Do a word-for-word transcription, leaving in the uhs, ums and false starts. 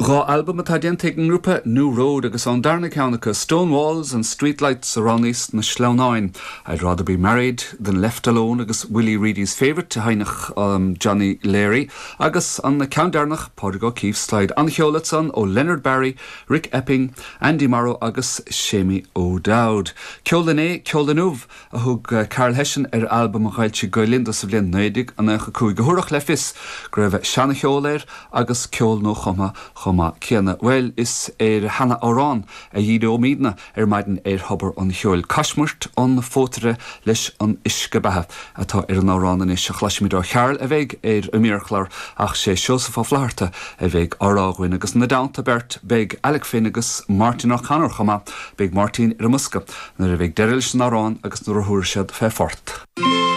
Dhá albam atá déanta ag an ngrúpa New Road agus an darna ceann acu Stone Walls and Streetlights a roghnaíos na sleamhnáin. I'd rather be married than left alone agus Willie Reidy's favourite a sheinneadh um, Johnny Leary agus an ceann deireanach Pádraig O'Keeffe Slide an-cheol ansan ó Leonard Barry, Rick Epping, Andy Morrow agus Seamie O'Dowd. Ceol inné ceol inniu a thug uh, Karl Hession ar albam a d'fhoilsigh Gael Linn sa bhliain naoi déag nócha cúig go thabharfadh le fios go raibh seancheol air agus ceol nuachumtha chomh maith céanna. Well is ar sheanamhrán a dhíreoimidne ar maidin ar Thobar an Cheoil. Caismirt an phótaire leis an uisce beatha atá ar an amhrán anois a chloisfimid ó Charl a bheidh ar an mír ach sé Seosamh Ó Flatharta a bheidh á rá againn agus ina dteannta beirt beidh Alec Finn agus Martin O'Connor chomh maith beidh Martin ar an mbosca nuair a bheidh deireadh leis an amhrán agus nuair a thabharfaidh siad fé phort.